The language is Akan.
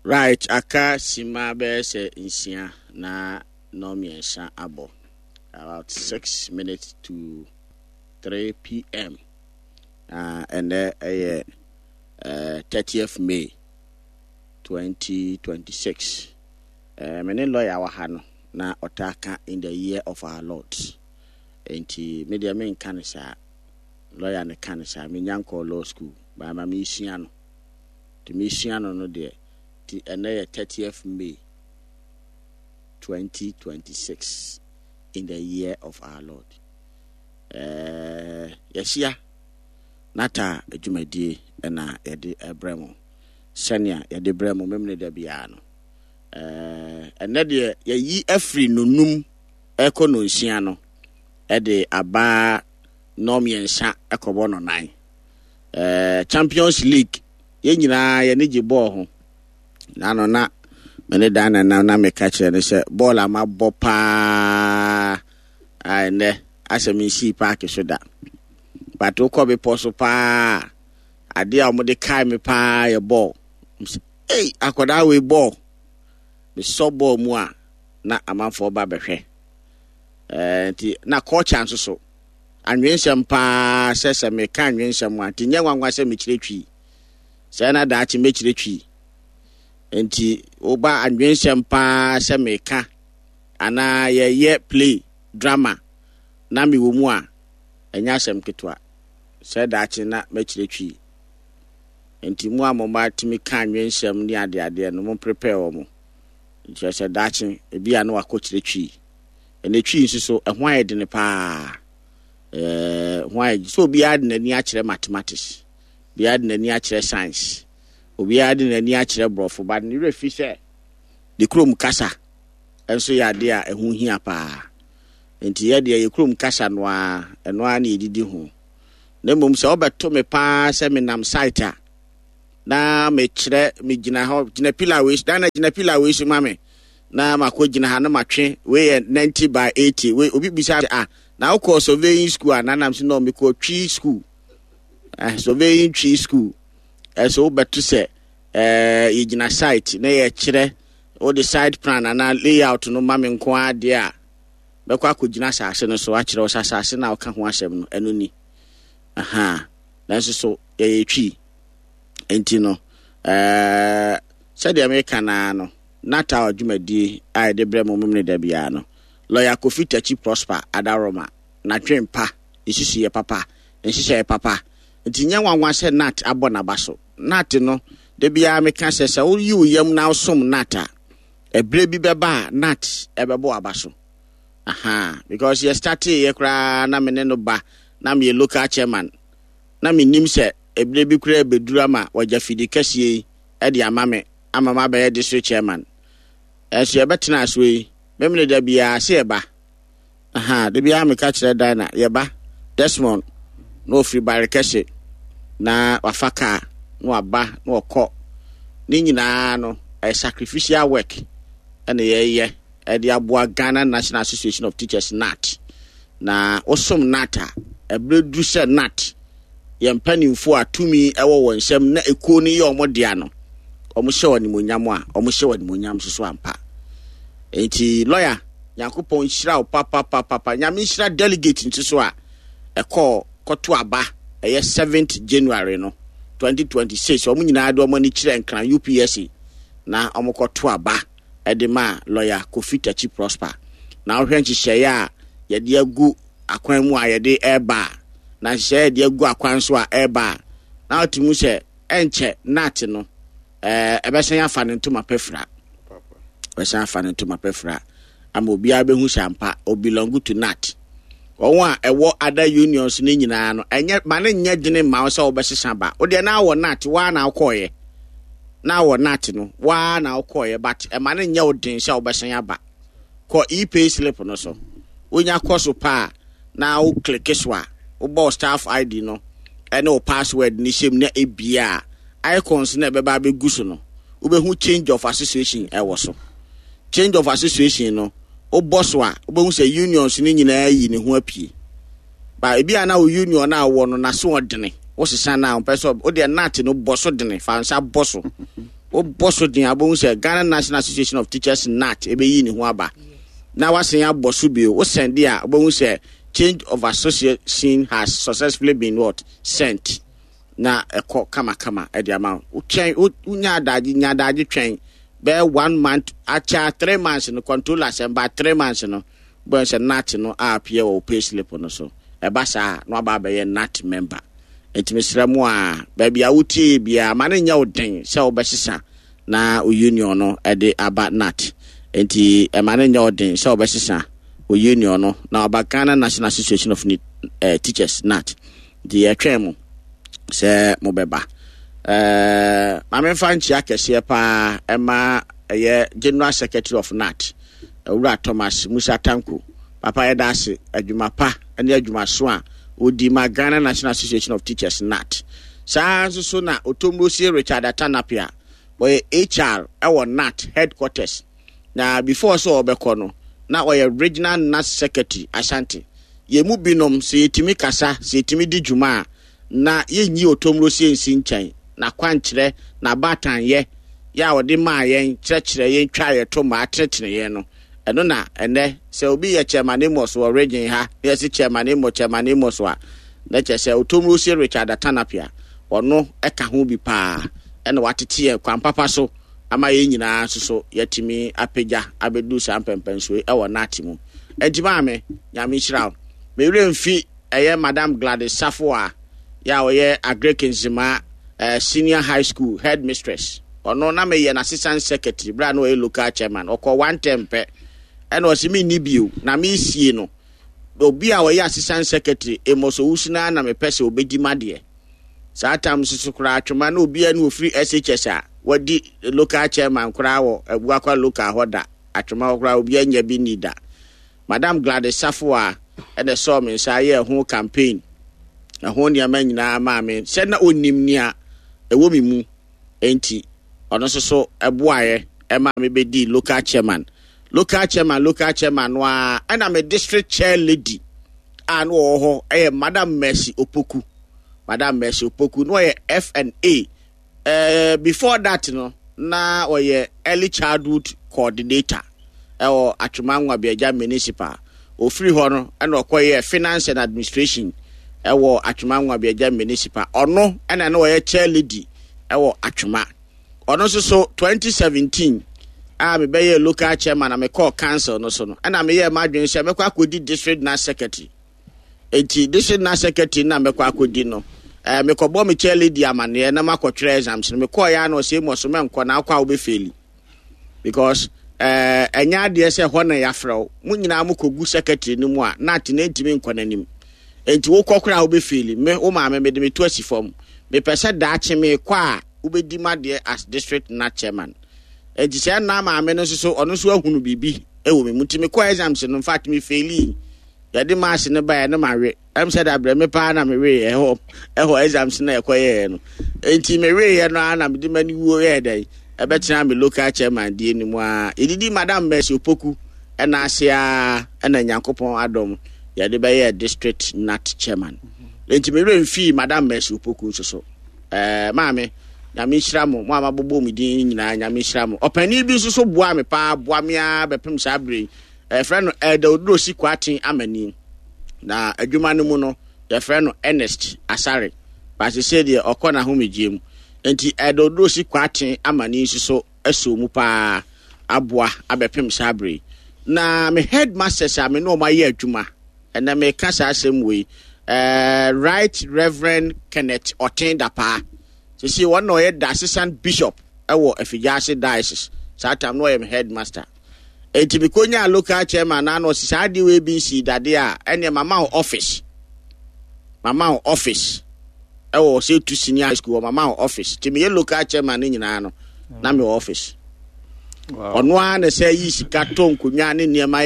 Right, aka sima bɛyɛ sɛ nsia na nnɔnmiɛnsa abɔ. About 6 minutes to 3 p.m. Na ɛnɛ ɛyɛ 30th May 2026. Me ne lawyer wɔ ha no na ɔtaa ka "in the year of our Lord". Nti me deɛ menka ne saa. Lawyer ne ka ne saa. Menya nkɔɔ law school. Baama mesua no. Nti mesua no no deɛ, nti ɛnɛ yɛ 30th May 2026, in the year of our Lord. Yɛahyia nata dwumadie ɛna yɛde ɛbrɛ mo sɛnea yɛde brɛ mo memene da biara no. Ɛnɛ deɛ yɛyi afiri nonum ɛkɔ nonsia no ɛde aba nnɔmmiɛnsa ɛkɔbɔ no nan. Champions League, yɛn nyinaa yɛne gye bɔɔl ho. Nano na me ne dan nana na meka kyerɛ no sɛ bɔɔl a mabɔ paa a ɛnɛ asɛ mensii paake so da. But wokɔ bepɔ so paa, adeɛ a wɔde kae me paa yɛ bɔɔl. Ei, akwadaa wei bɔɔl. Mesɔ bɔɔl mu a na amanfoɔ ba bɛhwɛ. Nti na culture nso so anwensɛm paa sɛ meka anwensɛm a, nti nyɛ nwanwa sɛ mekyerɛ Twi. Sɛ na daakye mɛkyerɛ Twi. Nti woba anwensɛm paa sɛ meka anaa yɛyɛ play drama na mewɔ mu a, ɛnyɛ asɛm ketewa sɛ daakye na mɛkyerɛ Twi. Nti mu a mo mma tumi ka anwensɛm ne adeadeɛ no, mo prepare wɔ mo. Nkyerɛ sɛ daakye ebi a na wakɔkyerɛ Twi. Ɛnɛ Twi nso so ɛho ayɛ dene paa. Ho ayɛ sɛ obiara de n'ani akyerɛ mathematics, obiara de n'ani akyerɛ science, obiara de n'ani akyerɛ borɔfo, but ne werɛ fi sɛ ne kurom kasa nso yɛ adeɛ a ɛho hia paa. Nti yɛ deɛ yɛ kurom kasa no ara, ɛno ara na yɛdidi ho. Na mmom sɛ wobɛto me paa sɛ menam site a na mekyerɛ, megyina hɔ, gyina pillar wei so, na gyina pillar wei so ma me, na makɔ gyina ha na matwe wei yɛ 90 by 80 wei. Obi bisa ah, na wokɔ surveying school a? Nanam so no, mekɔ Twi school, surveying Twi school. Ɛso wobɛto sɛ yɛgyina site na yɛkyerɛ, wode site plan anaa layout no ma me nko ara deɛ a, bɛkɔ akɔgyina asase no so akyerɛ wo sɛ asase no a woka ho asɛm no, ɛno ni. Aha, nanso so yɛyɛ Twi. Nti no sɛdeɛ meka naa no, natal dwumadie a yɛde brɛ mo memene da biara no, Lawyer Kofi Takyi Prosper Adaroma n'adwen pa, ne susuyɛ papa, ne nhyehyɛeɛ papa nti nyɛ nwanwa sɛ Nat abɔ n'aba so. Nat no, da biara meka sɛ sɛ woyi wo yam na wosom Nat a, ɛberɛ bi bɛba a Nat ɛbɛbɔ w'aba so. Aha, because yɛ startee yɛ koraa na me ne no ba na meyɛ local chairman, na menim sɛ ɛberɛ bi koraa ɛbɛduru ama wagya fidi kɛseɛ yi de ama me ama mabɛyɛ district chairman. Ɛnso yɛbɛtena so yi, memene da biara sɛ yɛba. Aha, da biara meka kyerɛ Dinah, yɛba Desmond na ɔfiri Bare Kɛse na wafa kaa na waba na ɔkɔ. Ne nyinaa no, ɛyɛ sacrificial work ɛna yɛyɛ ɛde aboa Ghana National Association of Teachers, NAT. Na wosom NAT a, ɛberɛ duru sɛ NAT yɛn mpanimfoɔ a tumi ɛwɔ wɔn nsam na ekuo no yɛ wɔn dea no, wɔn hyɛ wɔn animuonyam a, wɔn hyɛ wɔn animuonyam nso so ampa. Nti lawyer, Nyankopɔn nhyira wo papapapapa. Nyame nhyira delegate nso so a ɛkɔɔ kɔto aba ɛyɛ 7th January no 2026. Wɔn nyinaa de wɔn ani kyerɛ Nkran UPSA na wɔn kɔto aba ɛde ma Lawyer Kofi Takyi Prosper. Na wohwɛ nhyehyɛeɛ a yɛde agu akwan mu a yɛde ɛreba a, na nhyehyɛeɛ a yɛde agu akwan so a ɛreba a, na wote mu sɛ ɛnkyɛ NAT no ɛbɛsan afa ne ntoma pɛfira, ɛbɛsan afa ne ntoma pɛfira ama obiara bɛhu sɛ ampa o belong to NAT. Wɔn a ɛwɔ other unions no nyinaa no, ɛnyɛ ma ne nyɛ dene mma wo sɛ wobɛsesa ba. Wodeɛ na awɔ NAT waa na wokɔɔyɛ, na awɔ NAT no waa na wokɔɔyɛ, but ɛma ne nyɛ wo den sɛ wobɛsan aba. Kɔ e-pay slip no so, wonya kɔ so paa na wo click so a, wobɔ wo staff ID no ɛne wo password no hyɛm na ebia icons na ɛbɛba abɛgu so no, wobɛhu change of association ɛwɔ so. Change of association no, wobɔ so a, wobɛhu sɛ unions no nyinaa yi ne ho apue. Ba ebi a na wo union a wɔ no n'aso ɔdene, wosesa no a, ɔmpɛ sɛ wodeɛ NAT no bɔ so dene, fa nsa bɔ so. Wobɔ so den a, wobɛhu sɛ Ghana National Association of Teachers, GNAT, ɛbɛyi ne ho aba. Na wasan abɔ so bio. Wo sɛnde a, wobɛhu sɛ change of association has successfully been what? Sent. Na ɛkɔ kamakama ɛde ama wo. Wotwɛn, wonya adagye, nya adagye twɛn bɛyɛ one month, akyɛ 3 months no, controller sɛ ba 3 months no, wobɛhu sɛ GNAT no a appear wɔ wo pay slip no so. Ɛba saa na waba abɛyɛ GNAT member. Nti mesrɛ mo a, baabi a wotie biara, ma no nyɛ wo den sɛ wobɛsesa na wo union no de aba GNAT. Nti ɛma no nyɛ wo den sɛ wobɛsesa wo union no na waba Ghana National Association of Teachers, GNAT. Nti yɛtwɛn mo sɛ mobɛba. Ma memfa nkyia kɛseɛ paa ɛma ɛyɛ General Secretary of GNAT, Owura Thomas Musa Tanko. Papa, yɛda ase adwuma pa ne adwumaso a ɔdi ma Ghana National Association of Teachers, GNAT. Saa nso so na Otomrosie Richard Atanapia, wɔyɛ HR ɛwɔ GNAT headquarters. Na before sɛ ɔbɛkɔ no, na ɔyɛ regional GNAT secretary Ashanti. Yɛn mu binom, sɛ yɛtumi kasa, sɛ yɛtumi di dwuma a, na yɛnyi Otomrosie nsi nkyɛn. N'akwankyerɛ, n'abaatanyɛ yɛ a ɔde maa yɛn, kyerɛkyerɛ yɛn, twa yɛn to maa tenetene yɛn no, ɛno na ɛnɛ sɛ obi yɛ Chairman Amos wɔ region ha na yɛsi Chairman Amos, Chairman Amos a, na kyerɛ sɛ Otomrosie Richard Atanapia, ɔno ɛka ho bi paa ɛna watete yɛn kwan papa so ama yɛn nyinaa nso so yɛatumi apagya abɛdu saa mpɛmpɛnsoɔ yi ɛwɔ GNAT mu. Ɛnti maame, Nyame nhyira wo. Mewerɛ mfi ɛyɛ Madam Gladys Safo a yɛ a ɔyɛ Agric Nzema Senior High School headmistress. Ɔno na meyɛ n'assistant secretary berɛ a na ɔyɛ local chairman. Ɔkɔ one term pɛ ɛna ɔse menni bio na mesie no. Obi a ɔyɛ assistant secretary Amos Owusu naa na mepɛ sɛ ɔbɛdi m'adeɛ. Saa tam nso so koraa Atwoma na obiara ne ofiri SHS a wadi local chairman koraa wɔ Abuakwa local hɔ da. Atwoma hɔ koraa obiara nya bi nni da. Madam Gladys Safoa ɛna ɛsɔɔ me nsa yɛɛ ho campaign, ɛho nneɛma nyinaa maa me sɛ na onim nea ɛwɔ me mu, enti ɔno nso so ɛboaeɛ ɛma me bɛdii local chairman, local chairman, local chairman no ara. Ɛna me district chair lady a na ɔwɔ hɔ ɛyɛ Madam Mercy Opoku. Madam Mercy Opoku na ɔyɛ F&A. Before that no, na ɔyɛ early childhood coordinator ɛwɔ Atwoma Nwabiagya Municipal. Ofiri hɔ no ɛna ɔkɔyɛ finance and administration ɛwɔ Atwoma Nwabiagya Municipal. Ɔno ɛna na ɔyɛ chair lady ɛwɔ Atwoma. Ɔno nso so 2017 a mebɛyɛ local chairman na mekɔɔ council no so no, ɛna meyɛɛ m'adwene sɛ mɛkɔ akɔdi district GNAT secretary. Enti district GNAT secretary na mɛkɔ akɔdi no, mekɔbɔ me chair lady amanneɛ na makɔtwerɛ exams no. Mekɔɔ yɛ a na ɔsɛ mu ɔso mɛnkɔ na akɔ a wobɛfail because ɛnyɛ adeɛ sɛ hɔ na yɛafrɛ wo. Mo nyinaa mokɔgu secretary no mu a na ate na ntumi nkɔ n'anim, enti wokɔ koraa a wobɛfail. Me wo maame mede meto asi fam, mepɛ sɛ daakye mekɔ a wobɛdi m'adeɛ as district GNAT chairman. Enti sɛ nna maame no nso so ɔno nso ahunu biribi wɔ me mu, nti mekɔ exams no, in fact mefailii. Yɛde marks no baeɛ no, mawe sɛ da brɛ me paa na mewee ɛhɔ exams no ɛkɔyɛɛ no. Enti meweeɛ no ara na mede m'ani wuo yɛɛ dɛn ɛbɛtena me local chairman die no mu a yɛdidi Madam Mercy Opoku ɛna ase a, ɛna Nyankopɔn adɔm yɛde bɛyɛɛ district GNAT chairman. Enti mewerɛ mfii Madam Mercy Opoku nso so. Maame, Nyame nhyira mo, mo a mabobɔ mo din nyinaa, Nyame nhyira mo. Ɔpanin bi nso so boa me paa, boa me ara bɛpem saa berɛ yi. Yɛfrɛ no Elder Odurosi Kwaten Amani. Na adwuma no mu no, yɛfrɛ no Ernest Asare. Baasese deɛ ɔkɔ n'ahomegyeɛ mu. Nti Elder Odurosi Kwaten Amani nso so asɔ mu paa aboa abɛpem saa berɛ yi. Na me headmasters a me ne wɔn ayɛ adwuma, ɛnɛ meka saa asɛm wei, Right Reverend Kenneth Ɔten Dapaa. Sisi wɔn na ɔyɛ diocesan bishop ɛwɔ Afigyaase Diocese. Saa tam no ɔyɛ me headmaster. Enti mekonyaa local chairman na na ɔsi saa adeɛ wei bi nsii dadeɛ a, ɛneɛ mama wo office. Mama wo office. Ɛwɔ sɛ tu senior high school, mama wo office. Nti meyɛ local chairman no nyinaa no, na mewɔ office. Ɔno ara na sɛ yi sika tɔ nkonnwa ne nneɛma.